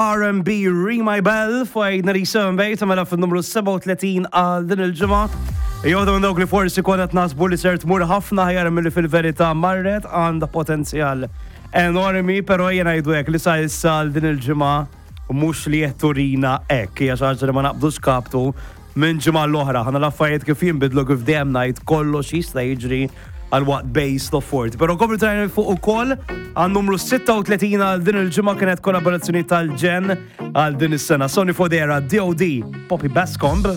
R&B Ring My Bell fuq 97 bejt mela fin-numru 37 għal din il-ġimgħa. Joħdu minn dawk li forsi konna nasbu li ser tmur ħafna ħjar milli fil-verità marret għandha potenzjal enormi, però jiena ngħidu hekk li sa issa għal din il-ġimgħa mhux li qed turina hekk, hija xi ħaġa li ma naqbdux kaptu minn ġimgħa l-oħra. Ħana l-affarijiet kif jinbidlu kif dejjem ngħid kollox jista' jiġri għal waqt base of 40. Pero komplu trajna fuq ukoll għal numru 36 għal din il-ġimgħa kienet kollaborazzjoni tal-ġen għal din is-sena. Sony Fodera, DOD, Poppy Bascomb.